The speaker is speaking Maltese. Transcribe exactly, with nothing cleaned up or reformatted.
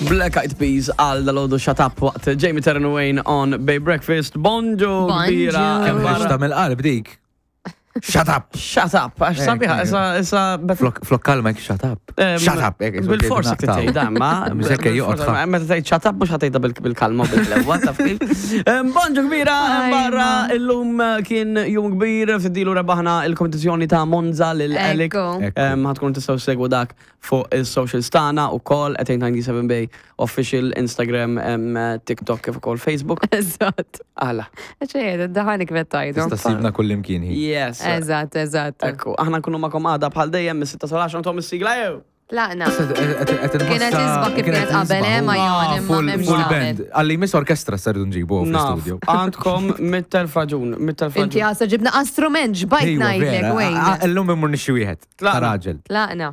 Black Eyed Peas għal dal-għodu Shut Up waqt Jamie Taryn Wayne on Bay Breakfast. Bonġu Bonġu. kbira. Kemm Barra. ħriġta mill-qalb dik. Shut up! Shut up, għax Eh, sabiħa, eh. issa, issa, Flok flok kalma jek shut up. Em, Shut up! hekk, isma' Bil-forsi tgħidu naqtaw. tgħidha, ma. Mżekka joqgħod ħa. Meta tgħid shut up mhux ħatejda bil-kalma u bil-lewwa, taf kif. Em, Bonġu kbira, em, Ajma. barra illum eh, kien jum kbir, fiddilu rebaħna il-kompetizzjoni ta' Monza lil Elik. Ekku. Ekku. Em, Ħatkun tistgħu segwu dak fuq il-socials tagħna ukoll at eight ninety-seven Bay official Instagram, em, TikTok kif ukoll Facebook. Eżatt. Għala. Ċejed, daħani kif tajdu. Tista' ssibna kull imkien hi. Yes. Eżatt, eżatt. Ekku, aħna nkunu magħkom għada bħal dejjem mis-sitta sal-għaxra tom is-sigla jew. Tlaqna. Kienet isbaħ kif kienet qabel, eh, ma Jon, imma Full m'hemmx full tagħmel. band. Għalli miss orkestra sardu nġibu Naf, fl-studio. għandkom mittel fraġun, mittel Inti fraġun. għasa ġibna strument ġbajt Ejwa, ngħidlek, vera. wejn. Illum immur nixxi wieħed. Ta' Tlaqna. raġel. Tlaqna.